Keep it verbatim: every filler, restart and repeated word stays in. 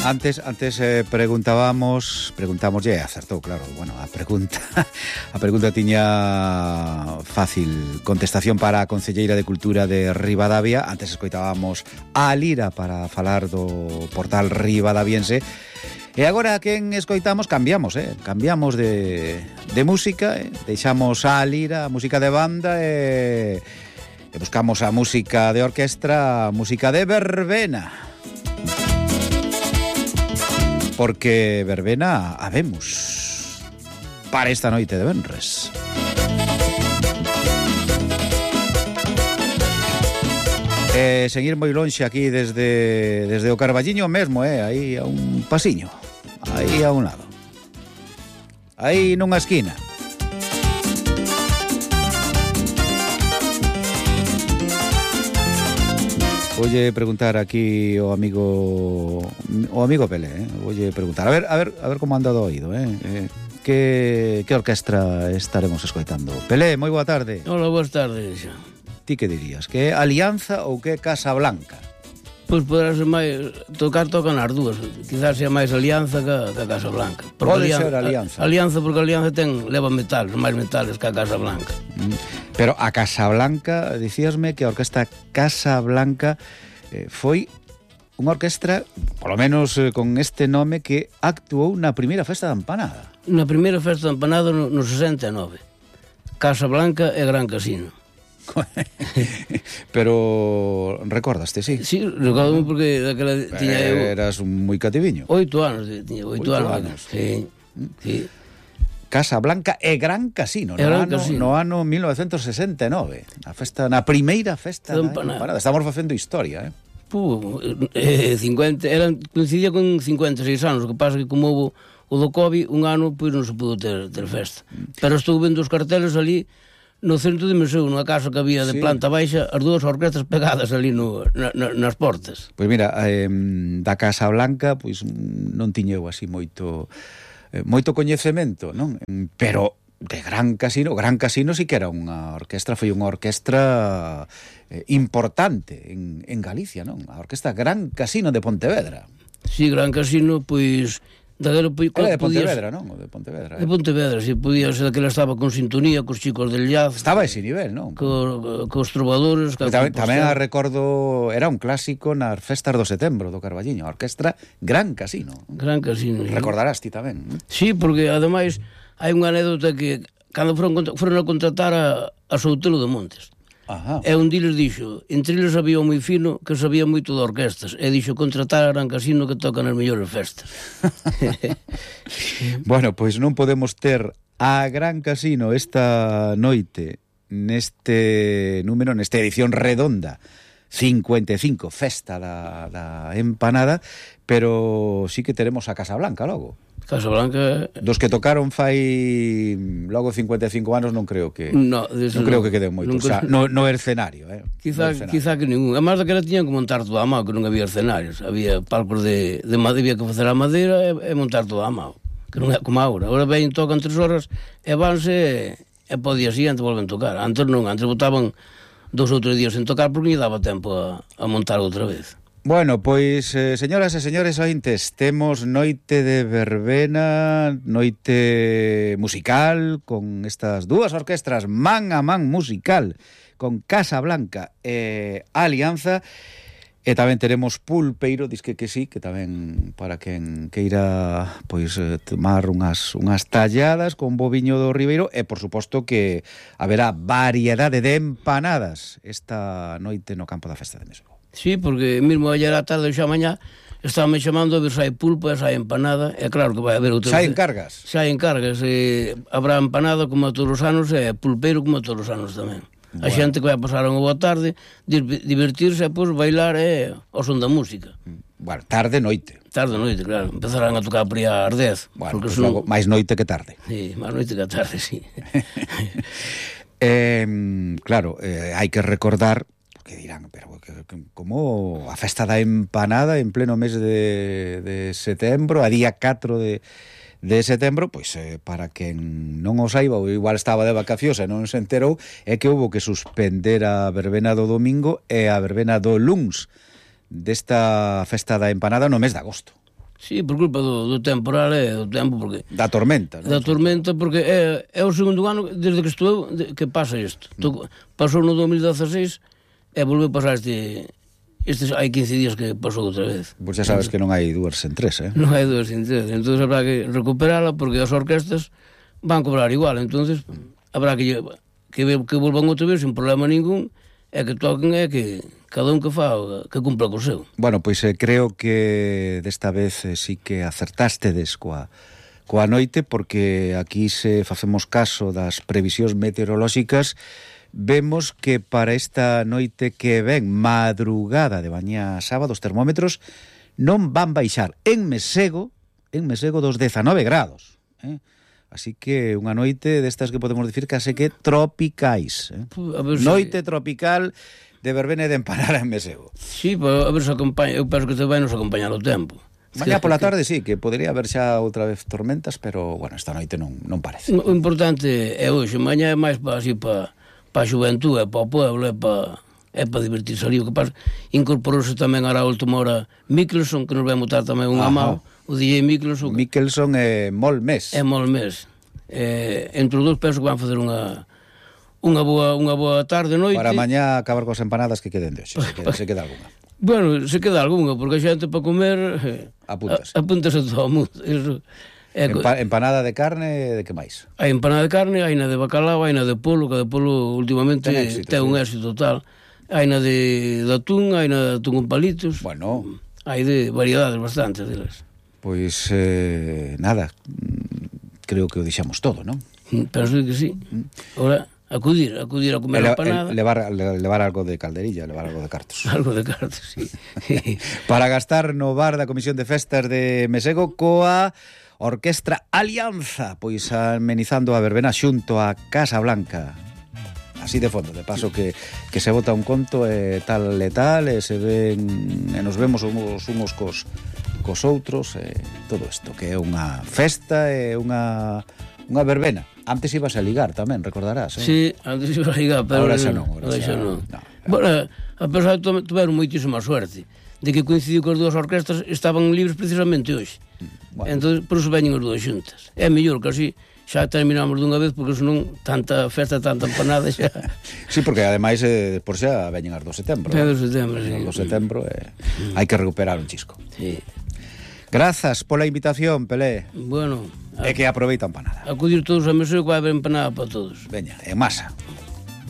Antes antes eh, preguntábamos, preguntamos, e acertou, claro. Bueno, a pregunta a pregunta tiña fácil contestación para a concelleira de Cultura de Ribadavia. Antes escoitábamos a Lira para falar do portal ribadaviense. E agora quen escoitamos cambiamos, eh? Cambiamos de, de música, eh? Deixamos a Lira, a música de banda e, e buscamos a música de orquestra, a música de verbena. Porque verbena habemos para esta noite de venres. E seguir moi lonxe aquí desde desde o Carballiño mesmo, eh, aí a un pasiño, aí a un lado. Aí nunha esquina. Voy preguntar aquí o amigo o amigo Pelé, eh? Voy preguntar, a ver, a ver, a ver como anda do oído, eh? eh que que orquestra estaremos escoitando? Pelé, moi boa tarde. Hola, boas tardes. Ti que dirías? Que é Alianza ou que é Casa Blanca? Pois poderá ser máis tocar tocan as dúas. Quizás sea máis Alianza que, que Casa Blanca. Pode ser Alianza. A, alianza porque a Alianza ten leva metales, máis metales que a Casa Blanca. Mm. Pero a Casa Blanca, dicíasme que a orquesta Casa Blanca eh, foi unha orquestra, polo menos eh, con este nome, que actuou na primeira festa da empanada. Na primeira festa da empanada no, no sesenta e nove. Casa Blanca e Gran Casino. Pero recordaste, sí? Sí, recordo porque daquela tiña eu... Eras moi cativiño. Oito anos, tiña oito anos. anos. Sí, sí. Casa Blanca e Gran Casino, no, Gran ano, Casino. no ano mil novecentos sesenta e nove. A festa, na primeira festa da empanada. empanada. Estamos facendo historia, eh? Puh, eh, cincuenta, eran, coincidía con cincuenta e seis anos, o que pasa que como houve o do COVID, un ano, pois non se pudo ter, ter festa. Pero estou vendo os carteles ali no centro de Meseu, nunha casa que había de sí. Planta baixa, as dúas orquestas pegadas ali no, na, na, nas portas. Pois mira, eh, da Casa Blanca, pois non tiñeu así moito eh, moito coñecemento, non? Pero de Gran Casino, Gran Casino sí que era unha orquestra, foi unha orquestra eh, importante en, en Galicia, non? A orquestra Gran Casino de Pontevedra. Sí, Gran Casino, pois... Daquelo, era de Pontevedra, non? O de Pontevedra. De Pontevedra, si, podía ser daquela estaba con sintonía, cos chicos del jazz. Estaba a ese nivel, non? Co, cos trovadores. Tamén, tamén a recordo, era un clásico nas festas do setembro do Carballiño, a orquestra Gran Casino. Gran Casino. Recordarás ti tamén. Sí, porque ademais hai unha anécdota que cando foron, foron a contratar a, a Soutelo de Montes. Ajá. E un diles dixo, entre eles había un moi fino que sabía moito de orquestas, e dixo contratar a Gran Casino que tocan as mellores festas. Bueno, pois non podemos ter a Gran Casino esta noite neste número, nesta edición redonda cincuenta e cinco, festa da, da empanada, pero sí que teremos a Casa Blanca logo. Casa Blanca... Dos que tocaron fai logo cincuenta e cinco anos non creo que no, non creo no, que queden moito, nunca... o sea, no, no escenario, eh. Quizá, no escenario. quizá que ningún. Además daquela tiñan que montar todo a mão, que non había escenarios, había palcos de, de madeira, había que facer a madeira e, e montar todo a mão, que non é como agora. Agora ven, tocan tres horas e vanse e po día siguiente volven tocar. Antes non, antes botaban dous ou tres días sen tocar porque lle daba tempo a, a montar outra vez. Bueno, pois, eh, señoras e señores ointes, temos noite de verbena, noite musical, con estas dúas orquestras man a man musical, con Casa Blanca e Alianza, e tamén teremos pulpeiro, disque que sí, que tamén para quen queira pois tomar unhas, unhas talladas con boviño do Ribeiro, e por suposto que haberá variedade de empanadas esta noite no campo da festa de Meseu. Sí, porque mesmo ayer a tarde xa mañá estaban me chamando a ver se hai pulpo e se hai empanada, e claro que vai haber outra... Xa encargas? Xa encargas, e habrá empanada como a todos os anos e pulpeiro como a todos os anos tamén. Bueno. A xente que vai pasar unha boa tarde, divertirse e pois bailar e ao son da música. Bueno, tarde, noite. Tarde, noite, claro. Empezarán a tocar por aí ás dez. Bueno, pues son... logo, máis noite que tarde. Sí, máis noite que tarde, sí. eh, claro, eh, hai que recordar que dirán, pero que, que, como a festa da empanada en pleno mes de, de setembro, a día catro de, de setembro, pois eh, para quen non o saiba, ou igual estaba de vacacións e non se enterou, é que houve que suspender a verbena do domingo e a verbena do luns desta festa da empanada no mes de agosto. Sí, por culpa do, do temporal e do tempo, porque... Da tormenta, non? Da tormenta, porque é, é o segundo ano desde que estou de, que pasa isto. Mm. Pasou no dos mil dieciséis e volveu a pasar este... Estes hai quince días que pasou outra vez. Pois xa sabes que non hai dúas en tres, eh? Non hai dúas en tres. Entón habrá que recuperala porque as orquestas van cobrar igual. Entón habrá que, que, que volvan outra vez sin problema ningún e que toquen e que cada un que fa, que cumpla co seu. Bueno, pois eh, creo que desta vez eh, sí que acertástedes coa, coa noite, porque aquí se facemos caso das previsións meteorolóxicas, vemos que para esta noite que ven, madrugada de mañá sábado, os termómetros non van baixar en Mesego, en Mesego dos dezanove grados, eh? Así que unha noite destas que podemos dicir case que tropicais, eh? Si... Noite tropical de verbena e de empanada en Mesego. Sí, pero a ver se acompaña, eu penso que te vai nos acompañar o tempo. Mañá pola tarde sí, que podría haber xa outra vez tormentas, pero, bueno, esta noite non, non parece. O importante é hoxe, mañá é máis para así para pa a xuventude, para o pueblo, é para é para divertirse ali. O que pasa, incorporouse tamén a última hora Mikkelson, que nos vai mutar tamén un amao, o D J Mikkelson. Mikkelson é Molmés. É Molmés. Eh, entre os dous penso que van facer unha unha boa unha boa tarde, noite. Para mañá acabar cos empanadas que queden de hoxe, se queda, se queda alguna. Bueno, se queda alguna, porque a xente para comer eh, apúntase. Apúntase todo o mundo. Eso é Empa, empanada de carne, de que máis? Hai empanada de carne, hai na de bacalao, hai na de polo, que de polo últimamente ten, éxito, ten sí. un éxito total. Hai na de, de atún, hai na de atún con palitos. Bueno, hai de variedades bastantes delas. Pois eh, nada, creo que o deixamos todo, non? Penso que sí. Ora acudir, acudir a comer a empanada. Levar, levar algo de calderilla, levar algo de cartos. Algo de cartos, sí. Para gastar no bar da Comisión de Festas de Mesego coa Orquestra Alianza, pois amenizando a verbena xunto a Casa Blanca. Así de fondo, de paso que, que se bota un conto e tal e tal, e se ven, e nos vemos uns, uns cos, cos outros, e todo isto, que é unha festa e unha, unha verbena. Antes ibas a ligar tamén, recordarás, eh? Sí, antes ibas a ligar, pero... Ahora xa non, ahora xa non. No, bueno, a pesar de tuveron moitísima suerte de que coincidiu que as dúas orquestas estaban libres precisamente hoxe. Bueno. Entón, por iso veñen as dúas xuntas. É mellor que así xa terminamos dunha vez, porque senón tanta festa, tanta empanada xa... Sí, porque ademais eh, por xa veñen as do setembro. É do setembro, sí. As do setembro eh, mm. hai que recuperar un chisco. Sí. Grazas pola invitación, Pelé. Bueno... É que aproveita a empanada. Acudir todos a Mesego, que vai haber empanada para todos. Veña, en masa.